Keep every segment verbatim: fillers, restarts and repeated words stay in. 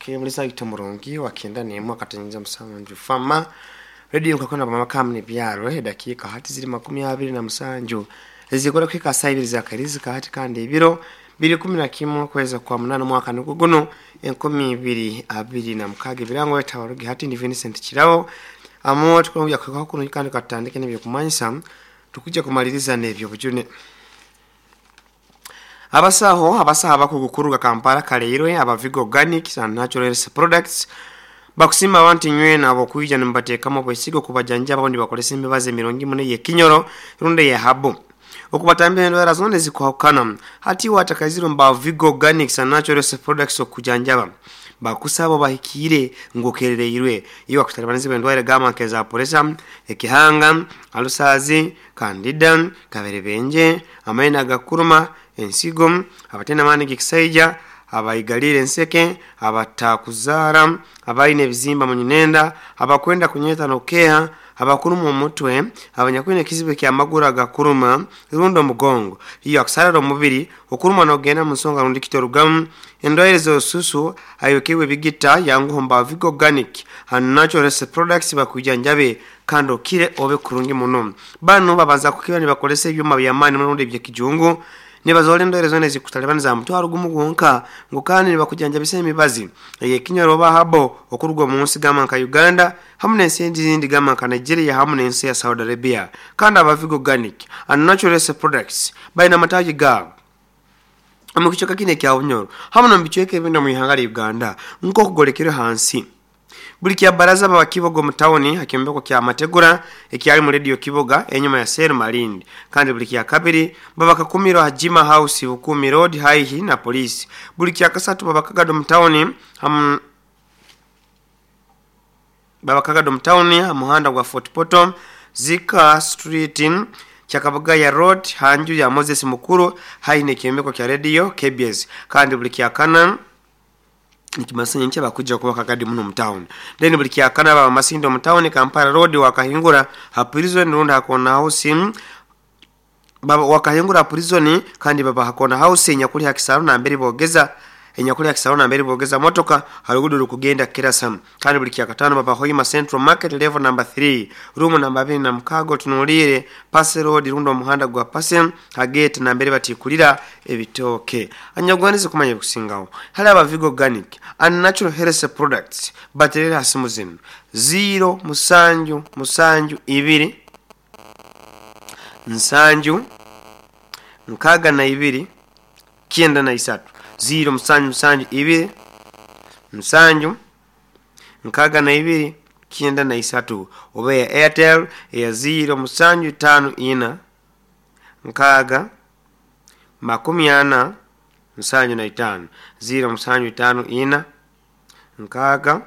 Kemulisa itomurungi wakenda nemu akatengeneza musanju fama radio nkakona bamakamu ni byaro eh, dakika hati ziri makumi abiri na musanju zikora kwika saa ibiri za karizi hati kandi ibiro biri kumi na kimwe kweza kwa munana mwaka nuguguno enkumi ibiri abiri na mukaga ibirango etabarugi hati ni Vincent Kirabo amo tukuya kwa kuno kandi katandike n'ebyo kumanyisa tukujja kumaliriza n'ebyo bujune. Abasaho abasaha abakugukuruga Kampala kaleirwe abavigo organic and natural health products bakusima abantu nywena abo kuija nimbateekamu obwesigo kubajanjaba abundi bakolesa emibazi emirungi muno ey'ekinyoro rundi eyahabu okubatambira endwara zona ezikuhakana. Hati watakaziro mba Vigo Organics and Natural Health Products okujanjaba bakusaba bahikiire ngokerereirwe iyo bakutalibaniza endwara gamba nkeza puresa, ekihanga, alusazi, kandida, kaberebenje, amaina agakuruma, ensigo, abatena amaani g'ekisaija, abaigalire enseke, abatakuzaara, abaine ebizimba mu nyinenda, abakwenda kunyeeta nokeha, abakuruma omutwe, abanyakwine ekizibu ekyamaguru agakuruma rundi omugongo, iyo akusalala omubiri okuruma nogenda mu nsonga rundi kitorugamu, endwaire z'osusu ayokeibwe ebigita yanguho mba Vigo Organic and Natural Health Products bakujanjabe kandi okire obe kurungi muno. Bano babanza kukiba nibakolesa ebyuma by'amaani muno rundi eby'ekijungu nibazoora endwaire zoona ezikutalibaniza mutwaro gumu gwonka ngu kandi nibakujanjabisa emibazi ey'ekinyoro oba habo okuruga omu nsi gamba nka Uganda hamu n'ensi ezindi gamba nka Nigeria hamu n'ensi ya Saudi Arabia. Kandi aba Vigo Organic and Natural Health Products balina amataagi gaabo omu kicweka kinu ekya Bunyoro hamu n'omu bicweka ebindi omu ihanga lya Uganda nk'okugolekerwe hansi. Buli kya baraza baba Kiboga omu tawuni ha kyombeko kya Mategura ekyali mu radio Kiboga enyuma ya Seru Malindi. Kandi buli kya kabiri baba Kakumiro ha Jima House Bukumi Road haihi na polisi. Buli kya kasatu baba Kagado mu tawuni hamu baba Kagado mu tawuni ha muhanda gwa Fort Portal Zika Street Kyakabagaya Road hanju ya Moses Mukuru haihi n'ekyombeko kya radio K B S. Kandi buli kya kana nikimasanya nche bakuja kuba Kagadi muno mu town. Then buli kya kana baba Masindo mu town Kampala Road wakahingura ha prison runda hakona house baba wakahingura prison kandi baba hakona house nyakuli hakisaro na mbere bogeza enyakuli hakisaro na mbere bogeza motoka harugudu rukugenda Kirasam. Kandi buli kya katano baba Hoima Central Market level number three room number abiri na mukago tunulire Pass Road rundo omuhanda gwa Pass hagate na mbere batikulira ebitoke. Anyagwanize kumanya kusingawo hali aba Vigo Organic and Natural Health Products baterera hasimu zino zero musanju musanju ibiri nsanju nkaga na ibiri kyenda na isatu zero musanju musanju ibiri musanju nkaga na ibiri kyenda na isatu oba ya Airtel ya zero musanju tano ina nkaga makumi ana nsanju na itano zero musanju tano ina nkaga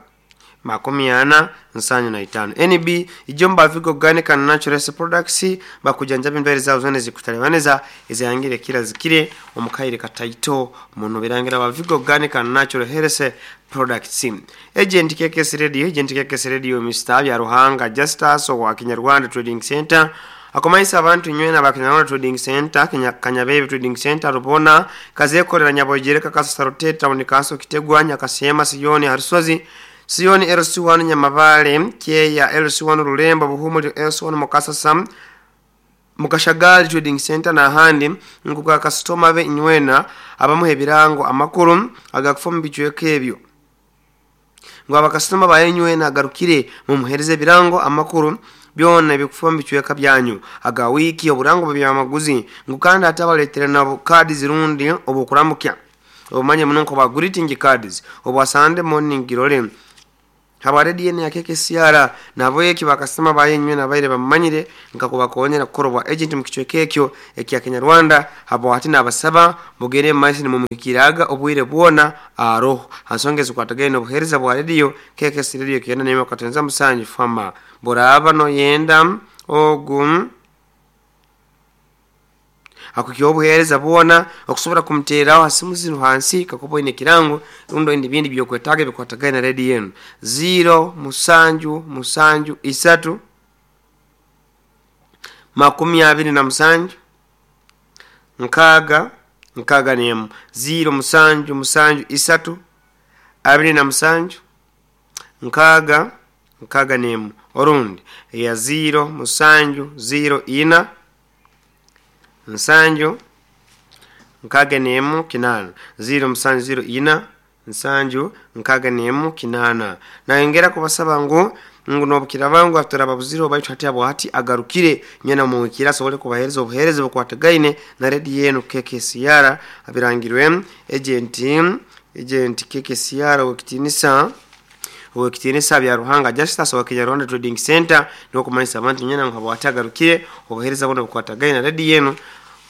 makumi ana nsanju na itano. N B ijomba Vigo Organic and Natural Products bakujanjaba endwara zaabo zona ezikutalibaniza ezihangire kira zikire omukaire kataito muno birangira ba Vigo Organic and Natural Health Products. Agent K K S Radio, Agent K K S Radio Mister ya Ruhanga Justus wa Kinyarwanda Trading Center akomaisa abantu nywena ba Kinyarwanda Trading Center, Kenya, Kanyabebe Trading Center Rubona kazekorera Nyabogereka Kasasa Town Kaso Kitegwa Nyakasema Siyoni Harusozi Siyoni L C one Nyamabale Kyeya L C one Rulembo Buhumuri L C one Mukasasa Mukashagali Trading Center na handi nkuka customer be nywena abamuhe birango amakuru agakufa mu bicweka ebyo ngo abakasitoma ba nywena agarukire mumuhereze birango amakuru byona bikufa mu bicweka byanyu aga wiki oburango byamaguzi ngo kandi atabaletere na kadi zirundi obukuramukya obumanye muno nko ba greeting cards obwa Sunday morning girore habare D N A ya K K C R nabo eki bakasema bayenywe nabaire bamanyire nkakubakonyera kukorwa agent mu kicweka ekyo ekya Kinyarwanda habo hati nabasaba mugere maisi ni mumukiraga obwire bwona aroho hansongeze kwatagene obuhereza bwa radio K K C Radio kenda nema katenza musanju fama boraba no yenda ogum akukyo obuhereza bwona okusobora kumteraho hasimu zino hansi kakubo ine kirango rundo indi bindi byokwetaga bikwatagana na radio yenu zero musanju musanju isatu makumi abiri na musanju nkaga nkaga nemu zero musanju musanju isatu abiri na musanju nkaaga nkaaga n'emu, orundi eya ziro musanju ziro ina nsanju nkaaga n'emu kinaana, ziro musanju ziro ina nsanju nkaaga n'emu kinaana. Nayongera kubasaba ngu ngu nobukiraba ngu aturababuzire baitu hati abo hati agarukire nyena muhikira asobole kubahereza obuhereza bukwatagaine na rediyo enu K K C R abirangirwe agent agent K K C R owekitinisa owekitinisa bya Ruhanga Justus wa Kenya Rwanda Trading Center nokumanyisa abantu nyena ngu abo hati agarukire obuhereza buno bukwatagaine na rediyo enu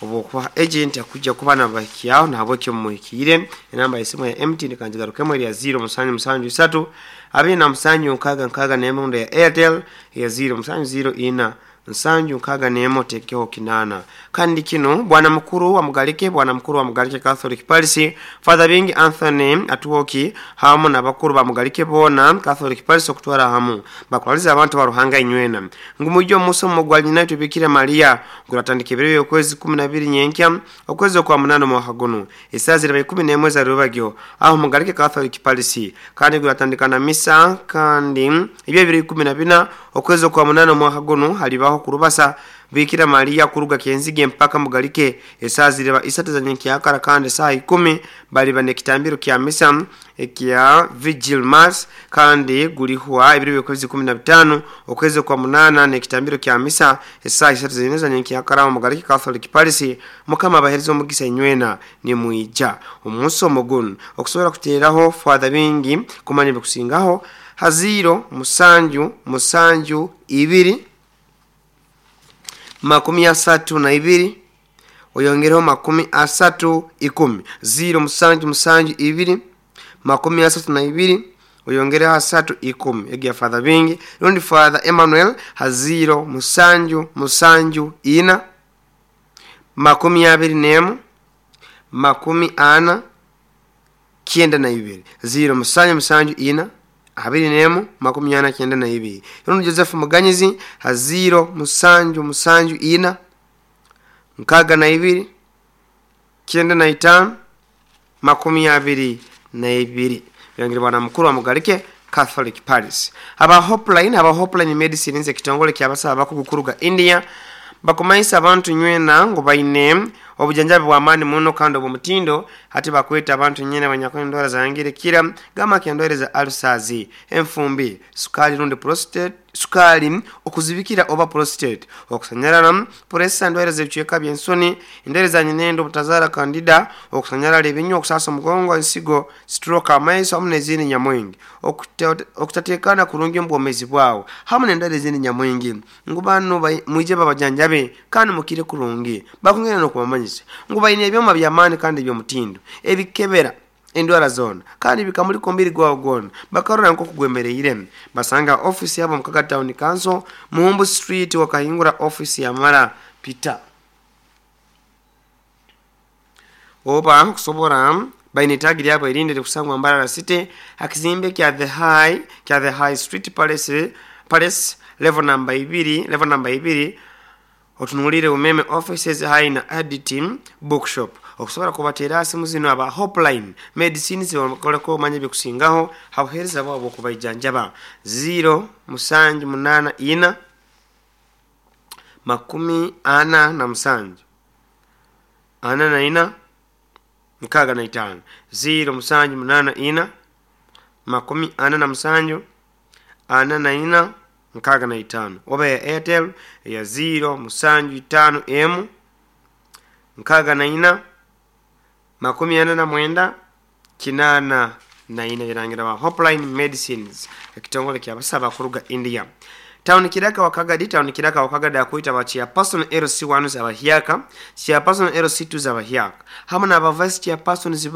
obukuba agent akujja kuba nabahikiaho nahabwekyo mumuhikire. Enamba y'esimu ya M T N kanjigarukemu eri ya ziro musanju musanju isatu abiri na musanju nkaaga nkaaga n'emu, ya Airtel ya ziro musanju ziro ina nsanju nkaaga n'emu tekeho kinaana. Kandi kino bwana mukuru wa Mugalike, bwana mukuru wa Mugalike Catholic Parish Father Bingi Anthony Atuoki hamu n'abakuru ba Mugalike bona Catholic Parish okutwara hamu bakwaliza abantu ba Ruhanga inywena ngumujjo musomo gwa nyina tubikira Maria guratandika ebiro y'okwezi kumi na bibiri nyenkya okwezi kwa munana mwaka guno esaa ziraba ikumi n'emwe za rubagyo aho Mugalike Catholic Parish kandi guratandika na misa kandi ebyo bibiri ikumi na bina okwezi kwa munana mwaka guno halibaho kurubasa Bikira Maria kuruga Kenzige mpaka Mugalike esaa zireba isatu za nyenkyakara kandi saa ikumi baliba nekitambiro kya misa ekya Vigil Mass kandi gulihwa ebiro by'okwezi kumi na bitano okwezi kwa munana nekitambiro kya misa esaa isatu za nyenkyakara Mugalike Catholic Parish. Mukama abahereza omugisa inywena ni muija omusomo guno okusobola kuteeraho Father Bingi kumanya bikusingaho haziro musanju musanju ibiri makumi asatu na ibiri oyongereho makumi asatu ikumi, ziro musanju musanju ibiri makumi asatu na ibiri oyongereho asatu ikumi egi ya Father Bingi. Rundi Father Emmanuel haziro musanju musanju ina makumi abiri n'emu makumi ana kyenda na ibiri, ziro musanju musanju ina abiri n'emu makumi ana kyenda na ibiri. Rundi Joseph Muganyizi haziro musanju musanju ina nkaaga na ibiri kyenda na itano makumi abiri na ibiri. Birangire bwana mukuru wa Mugalike Catholic Parish. Aba Hopeline, aba Hopeline Medicine nze kitongole ky'abasawo abakugukuruga India bakumayisa abantu nywena ngo baine obujanjabi bw'amaani muno kandi obw'omutindo ate bakweta abantu nyene banyakunywa endwara zangire kira gama kendwara za ulcers, enfumbi, sukali rundi prostate, sukali okuzibikira oba prostate, okusanyalala pressure, endwara z'ebicweka by'ensoni, endwara za nyinendo, obutazara candida, okusanyalala ebinywa, okusasa omugongo, ensigo, stroke, amaiso hamu n'ezindi nyamwingi, okutateekana kurungi omu bwomeezi bwawe hamu n'endwara ezindi nyamwingi. Ngu bano mwije babajanjabe kandi mukire kurungi bakongera n'okubamanyisa ngu baine ebyoma by'amaani kandi eby'omutindo ebikebera endwara zona kandi bikamulika omubiri gwawe gwona bakarora nk'okugwemereire. Basanga office yabo Mukaga Town Council Muhumbu Street wakahingura office ya Mara Peter oba kusobora baine tagi lyabo erinde likusangwa Mbarara City akizimbe kya the high kya the high street palace palace level number ibiri level number ibiri otunulire umeme offices high na editing bookshop. Okusobola kubateera simu zino aba Hopeline Medicines bakoleko omanye bikusingaho habuhereza bwabo okubaijanjaba ziro musanju munana ina makumi ana na musanju ana na ina nkaaga na itaano, ziro musanju munana ina makumi ana na musanju ana na ina nkaaga na itaano, oba ya Airtel ya ziro musanju itaano emu nkaaga na ina makumi ana na mwenda kinana na ina. Birangira ba Hopeline Medicines ekitongole ky'abasawo kuruga India. Town Kiraka wakagadi town Kiraka wakagadi akuita ba chairperson L C one z'abahyaka, chairperson L C two z'abahyaka hamu n'aba vice chairpersons.